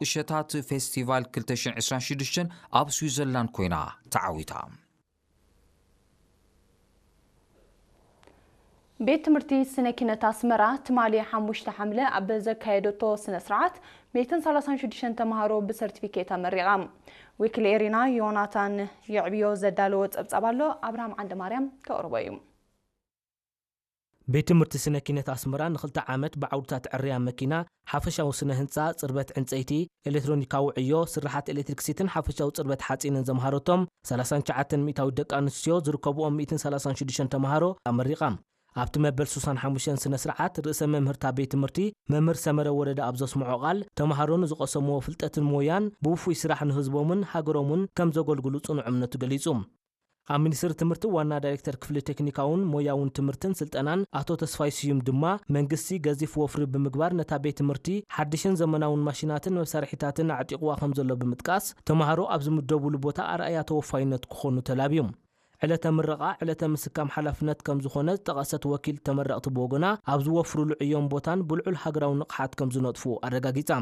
ቁሸታት ፌስቲቫል ክልተ ሽሕን ዕስራን ሽዱሽተን ኣብ ስዊዘርላንድ ኮይና ተዓዊታ። ቤት ትምህርቲ ስነ ኪነት ኣስመራ ትማሊ ሓሙሽተ ሓምለ ኣብ ዘካየደቶ ስነ ስርዓት ሚእትን ሰላሳን ሽዱሽተን ተምሃሮ ብሰርቲፊኬት ኣመሪቓ። ወኪል ኤሪና ዮናታን የዕብዮ ዘዳለዎ ጸብጻብ ኣሎ፣ ኣብርሃም ዓንደ ማርያም ከቕርቦ እዩ። ቤት ትምህርቲ ስነ ኪነት ኣስመራ ንኽልተ ዓመት ብዓውድታት ዕርያ መኪና፣ ሓፈሻዊ ስነ ህንጻ፣ ጽርበት ዕንጸይቲ፣ ኤሌክትሮኒካዊ ዕዮ፣ ስርሓት ኤሌክትሪክሲትን ሓፈሻዊ ጽርበት ሓጺንን ዘምሃረቶም ሰላሳን ትሽዓተን ሚእታዊት ደቂ ኣንስትዮ ዝርከብኦም ሚእትን ሰላሳን ሽዱሽተን ተምሃሮ ኣመሪቓ። ኣብቲ መበል ሱሳን ሓሙሽተን ስነ ስርዓት ርእሰ መምህርታ ቤት ትምህርቲ መምህር ሰመረ ወረደ ኣብ ዘስምዖ ቃል፣ ተምሃሮ ንዝቐሰምዎ ፍልጠትን ሞያን ብውፉይ ስራሕ ንህዝቦምን ሃገሮምን ከም ዘገልግሉ ጽኑዕ እምነቱ ገሊጹ። ኣብ ሚኒስትሪ ትምህርቲ ዋና ዳይሬክተር ክፍሊ ቴክኒካውን ሞያውን ትምህርትን ስልጠናን ኣቶ ተስፋይ ስዩም ድማ፣ መንግስቲ ገዚፍ ወፍሪ ብምግባር ነታ ቤት ትምህርቲ ሓድሽን ዘመናውን ማሽናትን መሳርሒታትን ኣዕጢቕዋ ከም ዘሎ ብምጥቃስ፣ ተምሃሮ ኣብ ዝምደቡሉ ቦታ ኣርኣያ ተወፋይነት ክኾኑ ተላብዩ። ዕለተ ምረቓ ዕለተ ምስካም ሓላፍነት ከም ዝኾነ ዝጠቐሰት ወኪል ተመረቕቲ ብወገና፣ ኣብ ዝወፍሩሉ ዕዮን ቦታን ብልዑል ሃገራዊ ንቕሓት ከም ዝነጥፉ ኣረጋጊጻ።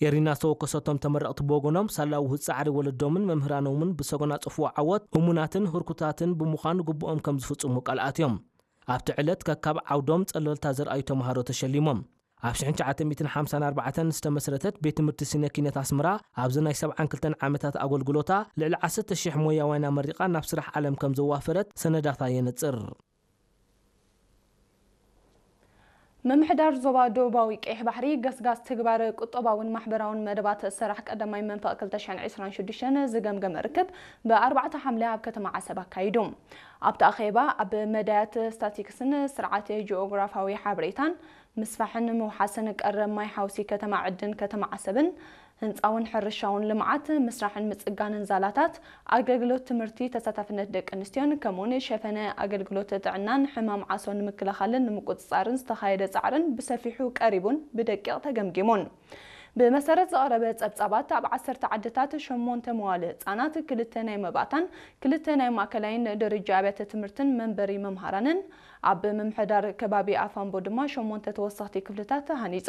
ኤሪና ዝተወከሰቶም ተመረቕቲ ብወገኖም፣ ሳላ ውህዝ ጻዕሪ ወለዶምን መምህራኖምን ብሰጎና ጽፍዎ ዓወት እሙናትን ህርኩታትን ብምዃን ግቡኦም ከም ዝፍጽሙ ቃል ኣትዮም። ኣብቲ ዕለት ከካብ ዓውዶም ጸለልታ ዘርኣዩ ተምሃሮ ተሸሊሞም። ኣብ ሽሕን ትሽዓተ ሚእትን ሓምሳን ኣርባዕተን ዝተመስረተት ቤት ትምህርቲ ስነ ኪነት ኣስመራ፣ ኣብዚ ናይ ሰብዓን ክልተን ዓመታት ኣገልግሎታ ልዕሊ ዓሰርተ ሽሕ ሞያውያን ኣመሪቓ ናብ ስራሕ ዓለም ከም ዘዋፈረት ሰነዳታ የነጽር። ምምሕዳር ዞባ ደቡባዊ ቀይሕ ባሕሪ ገስጋስ ትግባረ ቁጠባውን ማሕበራውን መደባት ሰራሕ ቀዳማይ መንፈቕ ክልተ ሽሕን ዕስራን ሽዱሽተን ዝገምገመ ርክብ ብኣርባዕተ ሓምለ ኣብ ከተማ ዓሰብ ኣካይዱ። ኣብቲ ኣኼባ ኣብ መዳያት ስታቲክስን ስርዓት ጂኦግራፋዊ ሓበሬታን ምስፋሕን ምውሓስን ቀረብ ማይ ሓውሲ ከተማ ዕድን ከተማ ዓሰብን ህንጻውን ሕርሻውን ልምዓት፣ ምስራሕን ምጽጋንን ዛላታት፣ ኣገልግሎት ትምህርቲ፣ ተሳታፍነት ደቂ ኣንስትዮን ከምኡውን ሸፈነ ኣገልግሎት ጥዕናን ሕማም ዓሶ ንምክልኻልን ንምቁጽጻርን ዝተኻየደ ጻዕርን ብሰፊሑ ቀሪቡን ብደቂቕ ተገምጊሙን። ብመሰረት ዝቐረበ ጸብጻባት፣ ኣብ ዓሰርተ ዓድታት ሸሞንተ መዋለ ህጻናት፣ ክልተ ናይ መባእታን ክልተ ናይ ማእከላይን ደረጃ ኣብያተ ትምህርትን መንበሪ መምሃራንን፣ ኣብ ምምሕዳር ከባቢ ኣፋምቦ ድማ ሸሞንተ ተወሰኽቲ ክፍልታት ተሃኒጹ።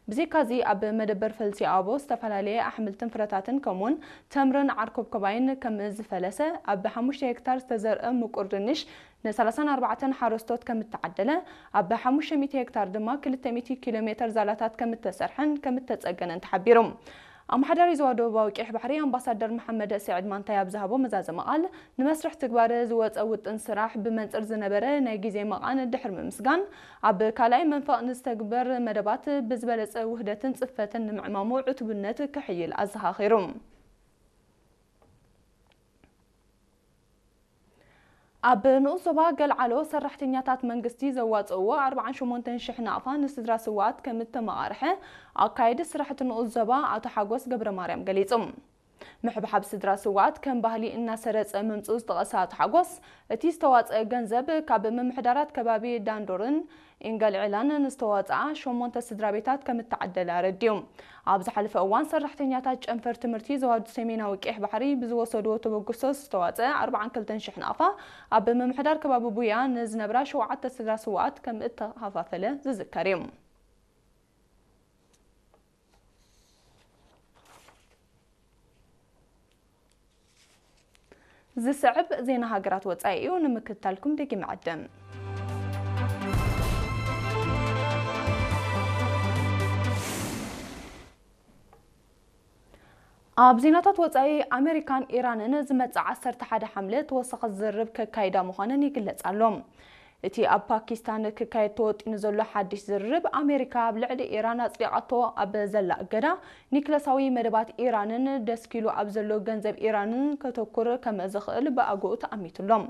ብዘይካዚ፣ ኣብ መደበር ፈልሲ ኣቦ ዝተፈላለየ ኣሕምልትን ፍረታትን ከምኡውን ተምርን ዓርኮብኮባይን ከም ዝፈለሰ፣ ኣብ ሓሙሽተ ሄክታር ዝተዘርአ ምቁር ድንሽ ንሰላሳን ኣርባዕተን ሓረስቶት ከም እተዓደለ፣ ኣብ ሓሙሽተ ሚእቲ ሄክታር ድማ ክልተ ሚእቲ ኪሎ ሜተር ዛላታት ከም እተሰርሐን ከም እተጸገነን ተሓቢሩ። ኣመሓዳሪ ዞባ ደቡባዊ ቀይሕ ባሕሪ ኣምባሳደር መሓመድ ስዒድ ማንታይ ኣብ ዝሃቦ መዛዘሚ ቃል፣ ንመስርሕ ትግባረ ዝወጸ ውጥን ስራሕ ብመንጽር ዝነበረ ናይ ግዜ መቓን ድሕሪ ምምስጋን፣ ኣብ ካልኣይ መንፈቕ ንዝተግበር መደባት ብዝበለጸ ውህደትን ጽፈትን ንምዕማሙ ዕቱብነት ክሕይል ኣዘኻኺሩ። ኣብ ንኡስ ዞባ ገልዓሎ ሰራሕተኛታት መንግስቲ ዘዋጽእዎ ኣርባዓን ሸሞንተን ሽሕ ናቕፋ ንስድራ ስውኣት ከም እተመቓርሐ ኣካየዲ ስራሕቲ ንኡስ ዞባ ኣቶ ሓጎስ ገብረ ማርያም ገሊጹ። ምሕብሓብ ስድራ ስውኣት ከም ባህሊ እናሰረጸ ምምጽኡ ዝጠቐሰ ኣቶ ሓጎስ፣ እቲ ዝተዋጽአ ገንዘብ ካብ ምምሕዳራት ከባቢ ዳንዶርን ኢንገልዕላን ንዝተዋጽኣ ሸሞንተ ስድራ ቤታት ከም እተዓደለ ኣረዲኡ። ኣብ ዝሓለፈ እዋን ሰራሕተኛታት ጨንፈር ትምህርቲ ዞባ ሰሜናዊ ቀይሕ ባሕሪ ብዝወሰድዎ ተበግሶ ዝተዋጽአ ኣርባዓን ክልተን ሽሕ ናቕፋ ኣብ ምምሕዳር ከባቢ ቡያ ንዝነብራ ሸውዓተ ስድራ ስውኣት ከም እተኸፋፈለ ዝዝከር እዩ። ዝስዕብ ዜና ሃገራት ወጻኢ እዩ፣ ንምክትታልኩም ደጊመ ዕድም። ኣብ ዜናታት ወጻኢ፣ ኣሜሪካን ኢራንን ዝመጽእ ዓሰርተ ሓደ ሓምለ ተወሳኺ ዝርርብ ከካይዳ ምዃነን ይግለጽ ኣሎ። እቲ ኣብ ፓኪስታን ክካየድ ተወጢኑ ዘሎ ሓድሽ ዝርርብ፣ ኣሜሪካ ኣብ ልዕሊ ኢራን ኣጽዲቓቶ ኣብ ዘላ እገዳ፣ ኒክለሳዊ መደባት ኢራንን ደስኪሉ ኣብ ዘሎ ገንዘብ ኢራንን ከተኩር ከም ዝኽእል ብኣግኡ ተኣሚቱ ኣሎ።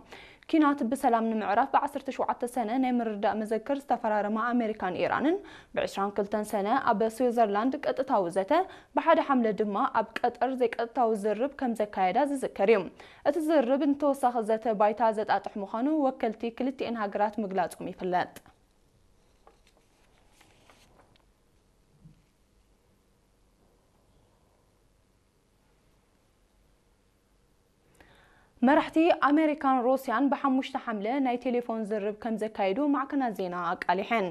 ኲናት ብሰላም ንምዕራፍ ብዓሰርተ ሸውዓተ ሰነ ናይ ምርድዳእ መዘክር ዝተፈራረማ ኣሜሪካን ኢራንን፣ ብዕስራን ክልተን ሰነ ኣብ ስዊዘርላንድ ቀጥታዊ ዘተ፣ ብሓደ ሓምለ ድማ ኣብ ቀጠር ዘይቀጥታዊ ዝርርብ ከም ዘካየዳ ዝዝከር እዩ። እቲ ዝርርብ ንተወሳኺ ዘተ ባይታ ዘጣጥሕ ምዃኑ ወከልቲ ክልቲኤን ሃገራት ምግላጾም ይፍለጥ። መራሕቲ ኣሜሪካን ሩስያን ብሓሙሽተ ሓምለ ናይ ቴሌፎን ዝርርብ ከም ዘካየዱ ማዕከናት ዜና ኣቃሊሐን።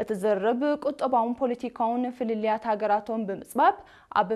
እቲ ዝርርብ ቁጠባውን ፖለቲካውን ፍልልያት ሃገራቶም ብምጽባብ፣ ኣብ